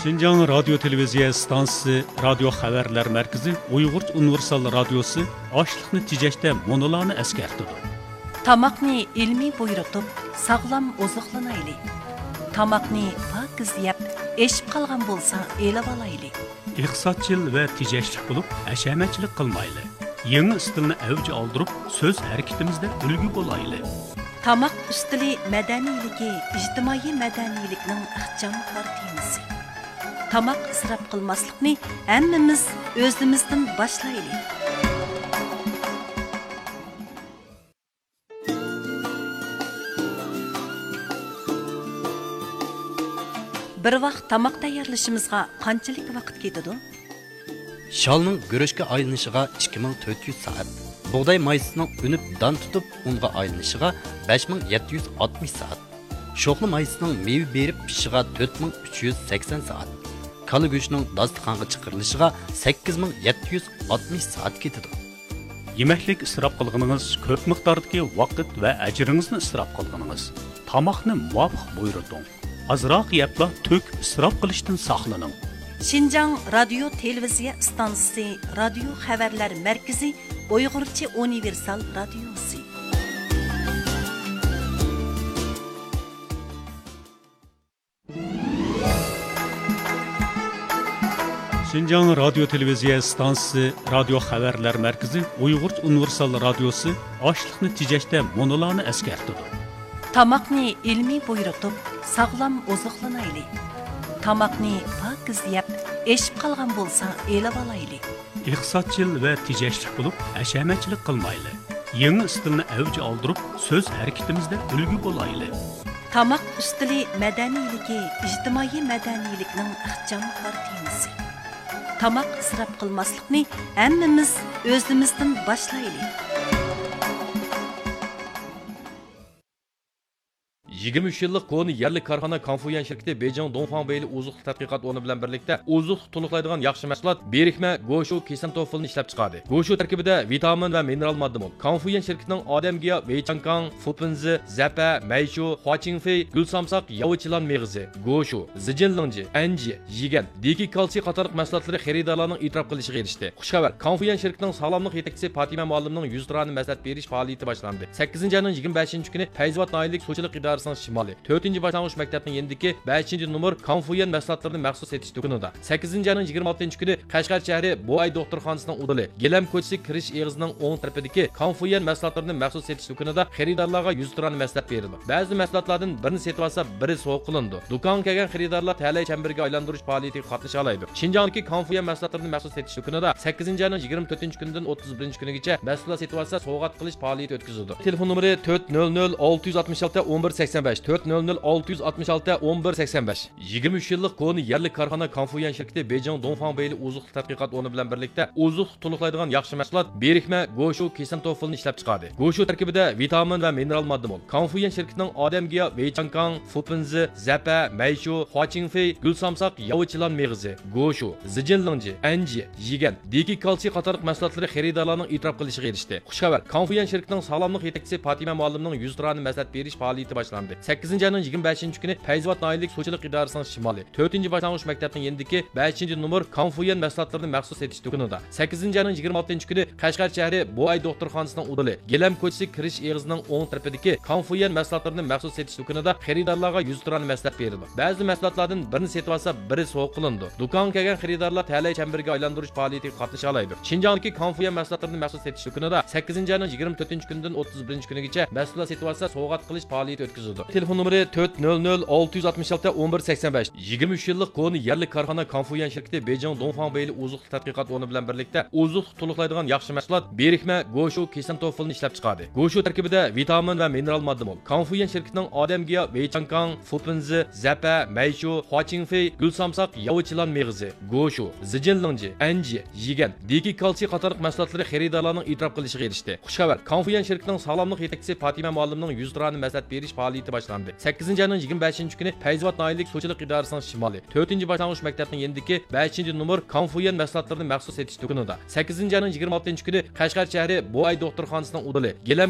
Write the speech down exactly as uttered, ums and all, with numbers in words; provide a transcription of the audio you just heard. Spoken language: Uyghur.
شىنجاڭ رادىيو تېلېۋىزىيە ئىستانسىسى رادىيو خەۋەرلەر مەركىزى ئۇيغۇرچە ئۇنىۋېرسال رادىيوسى ئاشلىقنى تېجەشتە مۇنۇلارنى ئەسكەرتىدۇ. تاماقنى ئىلمىي بۇيرۇتۇپ، ساغلام ئوزۇقلىنايلى. تاماقنى پاكىز يەپ، ئېشىپ قالغان بولسا ئېلىۋالايلى. ئىقتىسادچىل ۋە تېجەشلىك بولۇپ، ھەشەمەتچىلىك قىلمايلى. يېڭى ئىستىلنى ئەۋج ئالدۇرۇپ، سۆز ھەرىكىتىمىزدە ئۈلگە بولايلى. تاماق ئۈستىلى مەدەنىيلىكى ئىجتىمائىي مەدەنىيلىكنىڭ ئىخچام كارتىنىسى. تاماق ئىسراپ قىلماسلىقنى ھەممىمىز ئۆزىمىزدىن باشلايلى. بىر ۋاق تاماق تەييارلىشىمىزغا قانچىلىك ۋاقىت كېتىدۇ؟ شالنىڭ گۈرۈچكە ئايلىنىشىغا ئىككى مىڭ تۆت يۈز سائەت، بۇغداي مايسىسىنىڭ ئۈنۈپ دان تۇتۇپ ئۇنغا ئايلىنىشىغا بەش مىڭ يەتتە يۈز ئاتمىش سائەت، شوخلا مايسىسىنىڭ مېۋە بېرىپ پىشىشىغا تۆت مىڭ ئۈچ يۈز سەكسەن سائەت، كالا گۆشىنىڭ داستىخانغا چىقىرىلىشىغا سەككىز مىڭ يەتتە يۈز ئاتمىش سائەت كېتىدۇ. يېمەكلىك ئىسراپ قىلغىنىڭىز كۆپ مىقداردىكى ۋاقىت ۋە ئەجرىڭىزنى ئىسراپ قىلغىنىڭىز. تاماقنى مۇۋاپىق بۇيرۇتۇڭ. ئازراق يەپلا تۆكۈپ ئىسراپ قىلىشتىن ساقلىنىڭ. شىنجاڭ رادىيو تېلېۋىزىيە ئىستانسىسى رادىيو خەۋەرلەر مەركىزى ئۇيغۇرچە ئۇنىۋېرسال رادىيوسى. شىنجاڭ رادىيو تېلېۋىزىيە ئىستانسىسى رادىيو خەۋەرلەر مەركىزى ئۇيغۇرچە ئۇنىۋېرسال رادىيوسى ئاشلىقنى تېجەشتە مۇنۇلارنى ئەسكەرتىدۇ. تاماقنى ئىلمىي بۇيرۇتۇپ، ساغلام ئوزۇقلىنايلى. تاماقنى پاكىز يەپ، ئېشىپ قالغان بولسا ئېلىۋالايلى. ئىقتىسادچىل ۋە تېجەشلىك بولۇپ، ھەشەمەتچىلىك قىلمايلى. يېڭى ئىستىلنى ئەۋج ئالدۇرۇپ، سۆز ھەرىكىتىمىزدە ئۈلگە بولايلى. تاماق ئۈستىلى مەدەنىيلىكى ئىجتىمائىي مەدەنىيلىكنىڭ ئىخچام كارتىنىسى. تاماق ئىسراپ قىلماسلىقنى ھەممىمىز ئۆزىمىزدىن باشلايلى. يىگىرمە ئۈچ يىللىق كونا يەرلىك كارخانا كانفۇيۈەن شىركىتى بېيجىڭ دۇڭفاڭ بېيلى ئوزۇق-تۈلۈك تەتقىقات ئورنى بىلەن بىرلىكتە ئوزۇق تولۇقلايدىغان ياخشى مەھسۇلات، بىرىكمە گوشۇ كىسىنتوفىلنى ئىشلەپچىقاردى. گوشۇ تەركىبىدە ۋىتامىن ۋە مىنېرال ماددا مول. كانفۇيۈەن شىركىتىنىڭ ئادەم گىياھ، ۋېيچاڭكاڭ، فۇپىنزى، زەپە، مەيشۇ، خۇاچىڭفېي، گۈل سامساق، ياۋا چىلان مېغىزى، گوشۇ، زىجىنلىڭجى، ئەنجى، يىگەن، دېكى كالتسىي قاتارلىق مەھسۇلاتلىرى خېرىدارلارنىڭ ئېتىراپ قىلىشىغا ئېرىشتى. خۇش خەۋەر! كانفۇيۈەن شىركىتىنىڭ ساغلاملىق يېتەكچىسى پاتىمە مۇئەللىمنىڭ يۈزتۇرانە مەسلىھەت بېرىش پائالىيىتى باشلاندى. سەككىزىنچى ئاينىڭ يىگىرمە بەشىنچى كۈنى پەيزىۋات ناھىيەلىك سۇچىلىق ئىدارىسىنىڭ شىمالى، تۆتىنچى باشلانغۇچ مەكتەپنىڭ يېنىدىكى بەشىنچى نومۇر كانفۇيۈەن مەھسۇلاتلىرىنى مەخسۇس سېتىش دۇكىنىدا، سەككىزىنچى ئاينىڭ يىگىرمە ئالتىنچى كۈنى قەشقەر شەھىرى بوئاي دوختۇرخانىسىنىڭ ئۇدۇلى، گىلەم كوچىسى كىرىش ئېغىزىنىڭ ئوڭ تەرىپىدىكى كانفۇيۈەن مەھسۇلاتلىرىنى مەخسۇس سېتىش دۇكىنىدا خېرىدارلارغا يۈزتۇرانە مەسلىھەت بېرىلىدۇ. بەزى مەھسۇلاتلاردىن بىرنى سېتىۋالسا، بىرى سوۋغا قىلىنىدۇ. دۇكانغا كەلگەن خېرىدارلار تەلەي چەمبىرىكىگە ئايلاندۇرۇش پائالىيىتىگە قاتنىشالايدۇ. شىنجاڭدىكى كانفۇيۈەن مەھسۇلاتلىرىنى مەخسۇس سېتىش دۇكىنىدا سەككىزىنچى ئاينىڭ يىگىرمە تۆتىنچى كۈنىدىن ئوتتۇز بىرىنچى كۈنىگىچە مەھسۇلات سېتىۋالسا، سوۋغات قىلىش پائالىيىتى ئۆتكۈزۈلىدۇ. تېلېفون نومۇرى تۆت نۆل نۆل ئالتە يۈز ئاتمىش ئالتە ئون بىر سەكسەن بەش، تۆت نۆل نۆل ئالتە يۈز ئاتمىش ئالتە ئون بىر سەكسەن بەش. يىگىرمە ئۈچ يىللىق كونا يەرلىك كارخانا كانفۇيۈەن شىركىتى بېيجىڭ دۇڭفاڭ بېيلى ئوزۇق تەتقىقات ئورنى بىلەن بىرلىكتە ئوزۇق تولۇقلايدىغان ياخشى مەھسۇلات، بىرىكمە گوشۇ كىسىنتوفىلنى ئىشلەپچىقاردى. گوشۇ تەركىبىدە ۋىتامىن ۋە مىنېرال ماددا مول. كانفۇيۈەن شىركىتىنىڭ ئادەم گىياھ، ۋېيچاڭكاڭ، فۇپىنزى، زەپە، مەيشۇ، خۇاچىڭفېي، گۈل سامساق، ياۋا چىلان مېغىزى، گوشۇ، زىجىنلىڭجى، ئەنجى، يىگەن، دېكى كالتسىي قاتارلىق مەھسۇلاتلىرى خېرىدارلارنىڭ ئېتىراپ قىلىشىغا ئېرىشتى. خۇش خەۋەر! كانفۇيۈەن شىركىتىنىڭ ساغلاملىق يېتەكچىسى پاتىمە مۇئەللىمنىڭ يۈزتۇرانە مەسلىھەت بېرىش پائالىيىتى باشلاندى. سەككىزىنچى ئاينىڭ يىگىرمە بەشىنچى كۈنى پەيزىۋات ناھىيەلىك سۇچىلىق ئىدارىسىنىڭ شىمالى، تۆتىنچى باشلانغۇچ مەكتەپنىڭ يېنىدىكى بەشىنچى نومۇر كانفۇيۈەن مەھسۇلاتلىرىنى مەخسۇس سېتىش دۇكىنىدا، سەككىزىنچى ئاينىڭ يىگىرمە ئالتىنچى كۈنى قەشقەر شەھىرى بوئاي دوختۇرخانىسىنىڭ ئۇدۇلى، گىلەم كوچىسى كىرىش ئېغىزىنىڭ ئوڭ تەرىپىدىكى كانفۇيۈەن مەھسۇلاتلىرىنى مەخسۇس سېتىش دۇكىنىدا خېرىدارلارغا يۈزتۇرانە مەسلىھەت بېرىلىدۇ. بەزى مەھسۇلاتلاردىن بىرنى سېتىۋالسا، بىرى سوۋغا قىلىنىدۇ. دۇكانغا كەلگەن خېرىدارلار تەلەي چەمبىرىكىگە ئايلاندۇرۇش پائالىيىتىگە قاتنىشالايدۇ. شىنجاڭدىكى كانفۇيۈەن مەھسۇلاتلىرىنى مەخسۇس سېتىش دۇكىنىدا سەككىزىنچى ئاينىڭ يىگىرمە تۆتىنچى كۈنىدىن ئوتتۇز بىرىنچى كۈنىگىچە مەھسۇلات سېتىۋالسا، سوۋغات قىلىش پائالىيىتى ئۆتكۈزۈلىدۇ. تېلېفون نومۇرى تۆت نۆل نۆل ئالتە يۈز ئاتمىش ئالتە ئون بىر سەكسەن بەش. يىگىرمە ئۈچ يىللىق كونا يەرلىك كارخانا كانفۇيۈەن شىركىتى بېيجىڭ دۇڭفاڭ بېيلى ئوزۇق تەتقىقات ئورنى بىلەن بىرلىكتە ئوزۇق تولۇقلايدىغان ياخشى مەھسۇلات، بىرىكمە گوشۇ كىسىنتوفىلنى ئىشلەپچىقاردى. گوشۇ تەركىبىدە ۋىتامىن ۋە مىنېرال ماددا مول. كانفۇيۈەن شىركىتىنىڭ ئادەم گىياھ، ۋېيچاڭكاڭ، فۇپىنزى، زەپە، مەيشۇ، خۇاچىڭفېي، گۈل سامساق، ياۋا چىلان مېغىزى، گوشۇ، زىجىنلىڭجى، ئەنجى، يىگەن، دېكى كالتسىي قاتارلىق مەھسۇلاتلىرى خېرىدارلارنىڭ ئېتىراپ قىلىشىغا ئېرىشتى. خۇش خەۋەر! كانفۇيۈەن شىركىتىنىڭ ساغلاملىق يېتەكچىسى پاتىمە مۇئەللىمنىڭ يۈزتۇرانە مەسلىھەت بېرىش پائالىيىتى باشلاندى. سەككىزىنچى ئاينىڭ يىگىرمە بەشىنچى كۈنى پەيزىۋات ناھىيەلىك سۇچىلىق ئىدارىسىنىڭ شىمالى، تۆتىنچى باشلانغۇچ مەكتەپنىڭ يېنىدىكى بەشىنچى نومۇر كانفۇيۈەن مەھسۇلاتلىرىنى مەخسۇس سېتىش دۇكىنىدا، سەككىزىنچى ئاينىڭ يىگىرمە ئالتىنچى كۈنى قەشقەر شەھىرى بوئاي دوختۇرخانىسىنىڭ ئۇدۇلى، گىلەم